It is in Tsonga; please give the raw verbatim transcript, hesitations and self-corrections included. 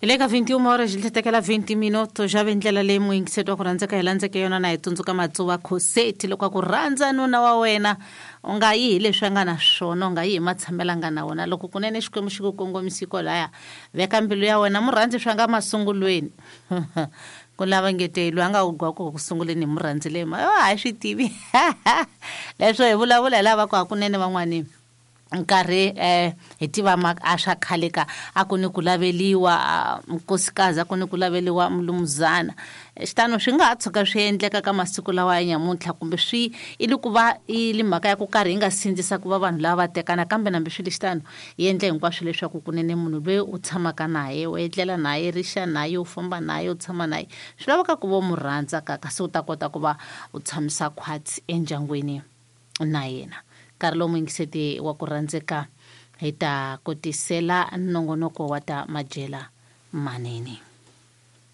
Hi le ka vintiun horas li tekela vinti minuto xa ve ndlela leyi muyingiseti wa ku rhandzeka hi landzeke yona na hi tsundzuka Matsuva Khoseti loko a ku rhandza nuna wa wena u nga yi hi leswi a nga na swona, u nga yi hi matshamelo a nga na wona. Loko kunene Xikwembu xi ku kongomisi kwalaya, veka mbilu ya wena, mu rhandzi swa nga masungulweni. Ku lava ngete loyi a nga wu gwa ku ku sunguleni hi mu rhandzile ma a hi swi tivi. Leswo hi vulavula hi lava ku hakunene van'wani nkarhi eh hi tiva ma a swa khale ka a ku ni ku laveliwa nkosikazi, a ku ni ku laveliwa mulumuzana. Xitano swi nga ha tshuka swi endleka ka masiku lawa ya nyamuntlha, kumbe swi i li ku va i li mhaka ya ku karhi yi nga sindzisa ku va vanhu lava va tekana, kambe nambi swi li xitano yi endle hinkwaswo leswaku kunene munhu loyi u tshamaka naye, u etlela naye, rixa naye, u famba naye, u tshama naye, swi laveka ku va u mu rhandza ka kasi u ta kota ku va u tshamisa khwatsi endyangwini na yena. Nkarhi lowu muyingiseti wa ku rhandzeka hi ta kotisela nongonoko wa ta madyela manene.